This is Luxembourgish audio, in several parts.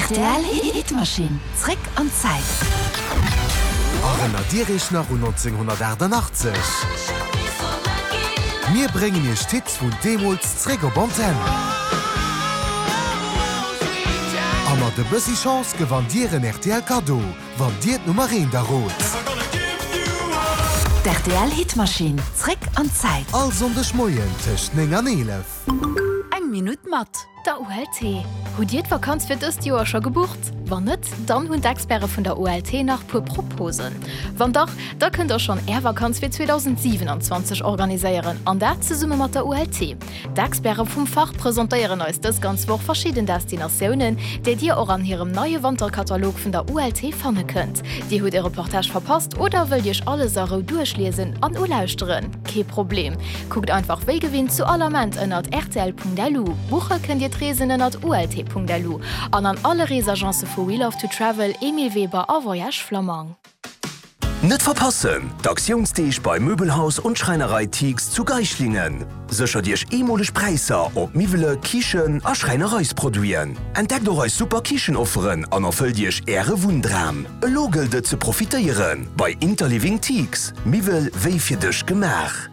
Rtl Hitmaschinn, zréck an d'Zäit. Erënnert Dir Iech nach un 1988? Mir bréngen Iech d'Hits vun deemools zréck op Antenn. A mat e bëssi Chance gewannt Dir en rtl Kaddo, wann Dir d'Nummer eent errot. D'RTL Hitmaschinn, zréck an d'Zäit. All Sonndeg Moien tëscht 9 an 11. Eng Minutt mat der ULT. Hutt Dir d'Vakanz fir dëst Joer scho gebucht? Wann net, dann hunn d'Experte vun der ULT nach puer Proposen. Wann dach, da kënnt der schonn Är Vakanz fir 2027 organiséieren, an dat zesumme mat der ULT. D'Experte vum Fach presentéieren eis dës ganz Woch verschidden Destinatiounen, déi Dir och an hirem neie Wanterkatalog vun der ULT fanne kënnt. Dir hutt e Reportage verpasst oder wëllt Iech alles a Rou duerchliesen an ulauschteren? Kee Problem, kuckt einfach wéi gewinnt zu all Ament ënnert rtl.lu. Buche kënnt Dir d'Reesen ënnert ult.lu an an alle Reesagence vu We Love to Travel, Emile Weber a Voyage Flammang. Net verpassen, D'Aktiounsdeeg bei Möbelhaus und Schreinerei Thiegs zu Geislingen. Séchert Iech eemoleg Präisser op Miwwele, Kichen a Schräinereisproduiten. Entdeckt och eis super Kichenofferen an erfëllt Iech Äre Wunndram. Elo gëllt et ze profitéieren bei Interliving Thiegs, Miwwel wéi fir dech gemaach.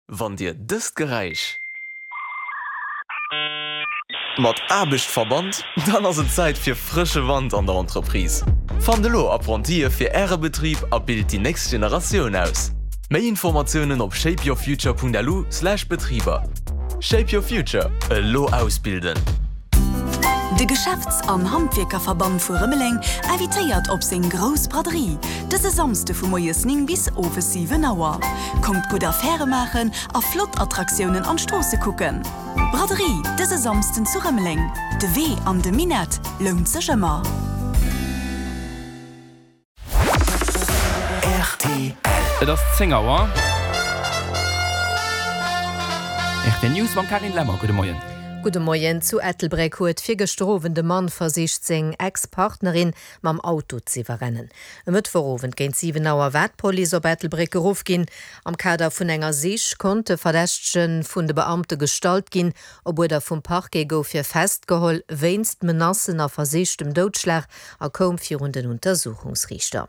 Wann Dir dëst Geräisch mat Aarbecht verbannt, dann ass et Zäit fir frësche Wand an der Entreprise. Fannt elo Apprentie fir Äre Betrib a bilt déi nächst Generatioun aus. Méi Informatiounen op shapeyourfuture.lu/betriber. Shape your future, elo ausbilden! De Geschäfts an Handwierkerverband vu Rëmeleng invitéiert op seng grouss Braderie, dëse Samsde vu moies 9 bis owes 7 Auer. Kommt gutt Affäre maachen a flott Attraktiounen an d'Stroosse kucken. Braderie dëse Samsden zu Rëmeleng. De Wee an de Minett lount sech ëmmer. Rtl. Et ass 10 Auer. Rtl News mam Carine Lemmer. Gudde Moien. Gudde Moien. Zu Ettelbréck huet virgëschter Owend e Mann versicht seng Ex-Partnerin mam Auto z'iwwerrennen. E Mëttwochowend géint 7 Auer war d'Police op Ettelbréck geruff ginn. Am Kader vun enger Sich konnt de Verdächtege vun de Beamte gestallt ginn. Op Uerder vum Parquet gouf hie festgeholl wéinst Menacen a versichtem Doudschlag a koum virun den Untersuchungsriichter.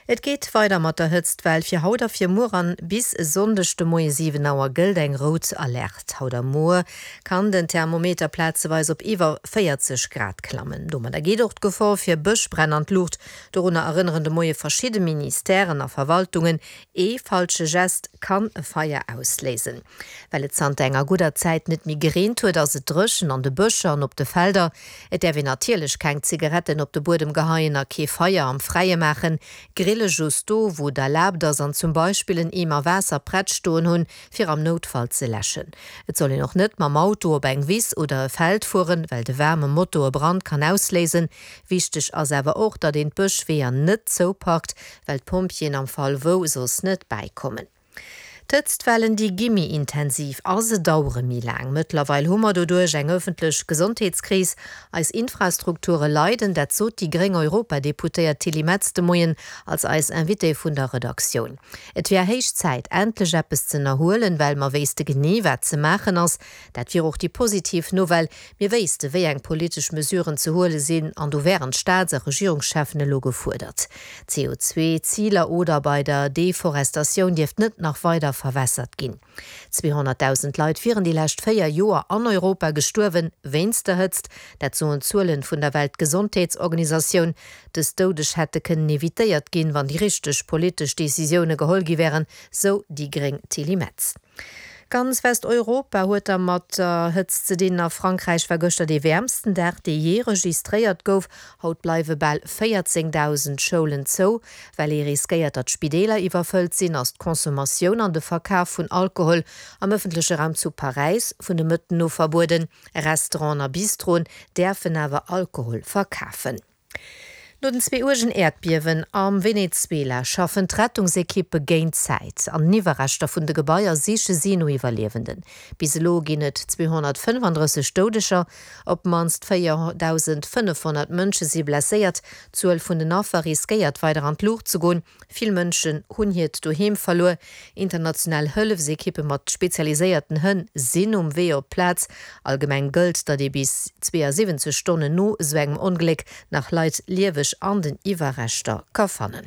Et geet weider mat der Hëtztwell. Fir haut a fir muer an bis e Sonndeg de Moie 7 Auer gëllt eng rout Alerte. Haut a muer kann den Thermometer plazeweis op iwwer 40 Grad klammen. Domadder geet och d'Gefor fir Bëschbränn an d'Luucht. Dorunner erënneren de Moie verschidde Ministèren a Verwaltungen. Ee falsche Gest kann e Feier ausléisen. Well et zanter enger gudder Zäit net méi gereent huet, ass et dréchen an de Bëscher an op de Felder. Et däerf een natierlech keng Zigaretten op de Buedem geheien a kee Feier am Fräie maachen. Grille just do, wou et erlaabt ass an zum Beispill en Eemer Waasser prett stoen hunn, fir am Noutfall ze läschen. Et soll een och net mam Auto op eng Wiss oder e Feld fueren, well de waarme Moto e Brand kann ausléisen. Wichteg ass awer och, datt een d'Bëschweeër net zouparkt, well d'Pompjeeën am Fall wou soss net bäikommen. D'Hëtztwellen, déi gi méi intensiv a se dauere méi laang. Mëttlerweil hu mer doduerch eng ëffentlech Gesondheetskris. Eis Infrastrukture leiden. Dat sot déi gréng Europadeputéiert Tilly Metz de Moien als eis Invitée vun der Redaktioun. Et wär héich Zäit, endlech eppes z'ënnerhuelen, well mer wéisste genee, wat ze maachen ass. Dat wier och déi positiv Nouvelle, Mir wéisste wéi eng politesch Mesuren ze huele sinn an do wären d'Staats a Regierungscheffen elo gefuerdert. CO2-Ziler oder bei der Deforestatioun dierft net nach weider verwässert ginn. 200.000 Leit wieren déi lescht 4 Joer an Europa gestuerwen wéinst der Hëtzt. Dat soen d'Zuelen vun der Weltgesondheetsorganisatioun. Dës Doudeg hätte kënnen evitéiert ginn, wann déi richteg politesch Decisioune geholl gi wären, sou déi gréng Tilly Metz. Ganz Westeuropa huet da mat der Hëtzt ze dinn. A Frankräich war gëschter dee wäermsten Dag, dee jee registréiert gouf. Haut bleiwe bal 14.000 Schoulen zou. Well ee riskéiert, datt d'Spideeler iwwerfëllt sinn, ass d'Consommatioun an de Verkaf vun Alkohol am ëffentleche Raum zu Paräis vun de Mëtten u verbueden. Restauranten a Bistroen däerfen awer Alkohol verkafen. No den zwee uergen Äerdbiewen am Venezuela schaffen d'Rettungsekippe géint d'Zäit. An den Iwwerreschter vun de Gebaier siche si no Iwwerliewenden. Bis elo ginn et 235 Doudeger, op d'mannst 4.500 Mënsche si blesséiert. D'Zuel vun den Affer riskéiert weider an d'Luucht ze goen. Vill Mënschen hunn hiert Doheem verluer. International Hëllefsekippe mat spezialiséierten Hënn sinn um Wee op d'Plaz. Allgemeng gëllt, datt ee bis 72 Stonnen no esou engem Ongléck nach Leit lieweg an den Iwwerreschter ka fannen.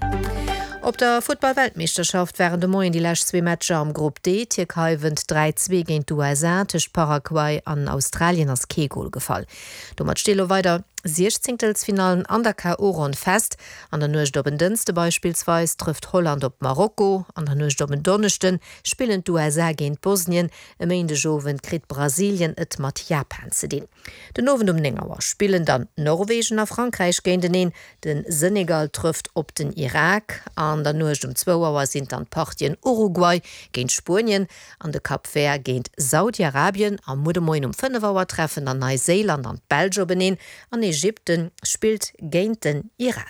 Op der Futtball-Weltmeeschterschaft waren de Moien déi lescht zwee Matcher am Grupp D. D'Tierkei wënnt 3, 2 géint d'USA. Tëscht Paraguay an Australien ass kee Gol gefall. Domat sti lo weider Siechzéngtelsfinallen an der KO-Ronn fest. An der Nuecht op en Dënschde beispillsweis trëfft Holland op Marokko, an der Nuecht op en Donneschde spillen d'USA géint Bosnien, e Méindegowend kritt Brasilien et mat Japan ze dinn. Den Owend um 9 Auer spillen dann Norwegen a Frankräich géinteneen, de Senegal trëfft op den Irak. An der Nuecht um zwou Auer sinn dann d'Partien Uruguay géint Spuenien an de Cap Vert géint Saudi-Arabien. A muer de Moien um 5 Auer treffen dann Neiséiland an d'Belsch openeen an Ägypten spillt géint den Iran.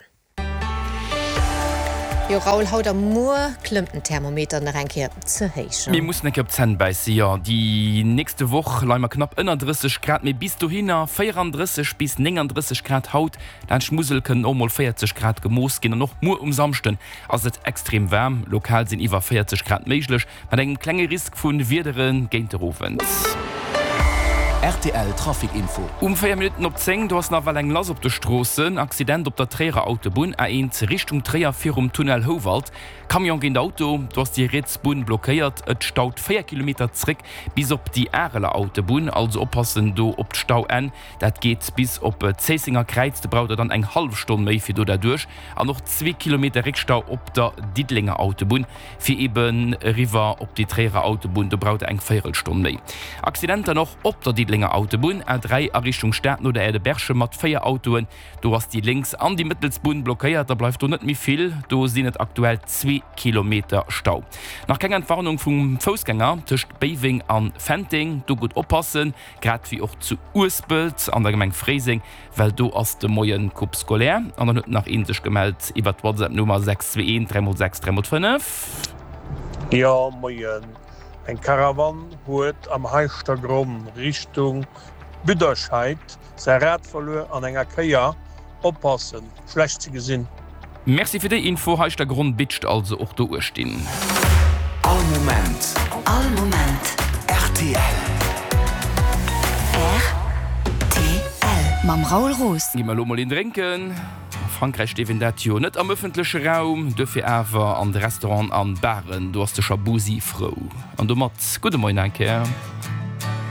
Jo Raoul, haut a muer klëmmt den Thermometer nach eng Kéier ze héich. Mir mussen eng Kéier op d'Zänn bäissen, jo. Déi nächste Woch leie mer knapp ënner 30 Grad, mee bis dohinner 34 bis 39 Grad haut. Laanscht d'Musel kënnen och mol 40 Grad gemooss ginn an och muer um Samschden ass et extrem waarm. Lokal sinn iwwer 40 Grad méiglech. Mat engem klenge Risk vu Wiedere géint de Owend. Rtl Trafic Info. Um 4 Minutten op 10, do ass nawell eng lass op de Stroossen. Accident op der Tréierer Autobunn, A1 Richtung Tréier virum Tunnel Houwald. Camion géint Auto, do ass déi riets Bunn blockéiert. Et staut 4 Kilometer zréck bis op déi Areler Autobunn. Also oppassen do op d'Stauenn. Dat geet bis op d'Zéissenger Kräiz. Do braucht der dann eng hallef Stonn méi fir do derduerch. An och zwee Kilometer Réckstau op der Diddelenger Autobunn. Fir eben eriwwer op déi Tréierer Autobunn, do braucht der eng Véierelstonn méi. Accident dann och op der Diddelenger Autobunn, A3 a Richtung Stad no der Aire de Berchem mat 4 Autoen. Do ass déi lénks an déi mëttels Bunn blockéiert, da bleift do net méi vill. Do sinn et aktuell zwee Kilometer Stau. Nach keng Entwarnung vum Foussgänger tëscht Béiweng an Fenteng, do gutt oppassen, grad wéi och zu Uespelt an der Gemeng Fréiseng. Well do ass de Moien Coupe scolaire an dann huet nach een sech gemellt iwwert d'Whatsapp Nummer 621 3 x 6 3 x 5. Jo moien, eng Karawann huet am Heischtergronn Richtung Büderscheid säi Rad verluer an enger Kéier, oppassen, schlecht ze gesinn. Merci fir déi Info, Heischtergronn bitscht also och do uechtinn. All Moment. All Moment. Rtl. Rtl. Mam Raoul Roos. Gi mer elo mol een drénken. A Frankräich dierf een dat jo net am ëffentleche Raum, duerfir awer an de Restauranten an Baren. Do ass de Schabusi frou. An domat gudde Moien eng Kéier.